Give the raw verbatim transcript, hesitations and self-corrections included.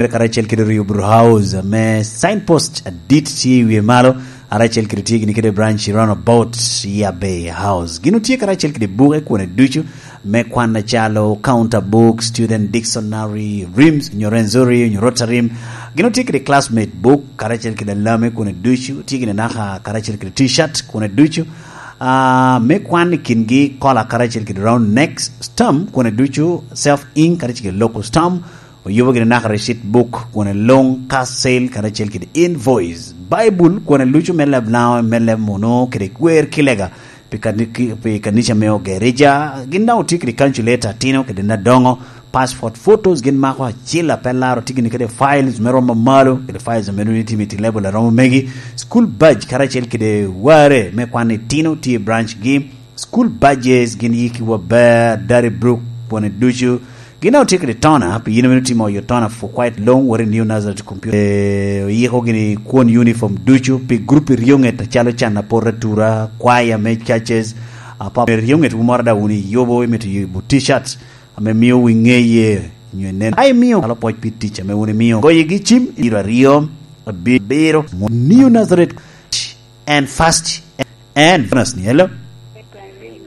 karacel kede Rio Bru House, ame signpost adit tye i wie malo, karacel kede tye gini kede branch i roundabout Yia Bay House. Gin otye karacel kede buke kwone ducu me kwan acalo Counter Book, Student Dictionary, rims, nyo Rwenzori, nyo Rotarim. Gin otye kede Classmate Book, karacel kede Alame kwone ducu, tye gini naka karacel kede T-shirt kwone ducu. Ah, me kwan i kingi kola karacel kede Round Neck, Stamp kwone ducu, Self Ink karacel kede Local Stamp, oyubo gini naka receipt book kwone luŋ, cash sale karacel kede invoice, Bible kwone lucu me leb Lango, me leb Munu kede Gwer Kilega pi kani-, ki-, pi kanica me Ogerija. Gin daŋ otye kede calculator atino kede nadoŋo, passport photos gin mako acil apelaro, tye gini kede files me romo malo, kede files ame dong itimo i level a romo megi, school badge karacel kede ware me kwan itino tye i branch gi, school badges gin yiki waber, Dary Brook kwone ducu. Gin daŋ otye kede toner, pi yin ame itimo oyo toner for quite long, wari New Nazareth Computer. Eh, oyiko gini kwon uniform ducu pi group i ryoŋet acalo can apot atura, kwaya me churches, apa ryoŋet wu moro daŋ wun iyubo, imito yubo t-shirt ame mio wi ŋeye, nyo inen. Ka imio, alo pwoc pi tic ame wun imio. Goyigi cim, iro aryo, abiro, New Nazareth and fast and bonus ni, hello?